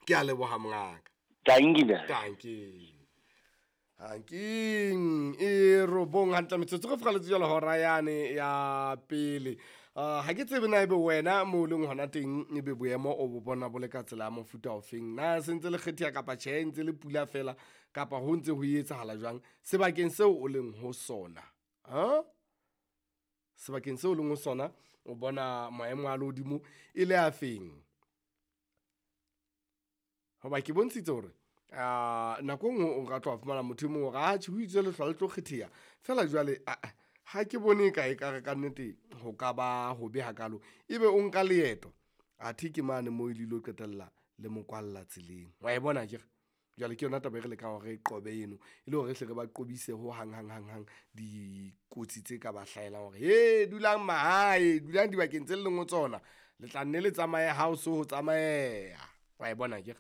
Ke a leboha mongaka. Dankie ntate. Dankie. Hanking e robong hantle metsotso re fokaletse jalo hora yane ya pele. Ha ke tsebe na ebe wena mo o leng hona teng ebe boemo o bo bona bo le ka tsela ya mofuta ofeng. Na se ntse le kgetheha kapa tjhe, ntse le pula fela kapa ho ntse ho etsahala jwang sebakeng seo o leng ho sona? Ha? Sebakeng seo o leng ho sona o bona maemo a lehodimo e le a feng? Hoba ke bontshitse hore nako e nngwe o ka tloha fumana motho e mong hore atjhe ho itswe lehlwa le tlo kgetheha feela jwale aa ha ke bone ka ekare kannete ho ka ba hobe hakalo. Ebe o nka leeto athe ke mane moo le ilo qetella le mo kwalla tseleng. Wa e bona akere? Jwale ke yona taba e re lekang hore re e qobe eno e le hore re hle re ba qobise ho hang hang hang hang dikotsi tse ka ba hlahelang hore he dulang mahae, dulang dibakeng tse leng ho tsona. Le tla nne le tsamaye ha o so ho tsamaeha. Wa e bona akere?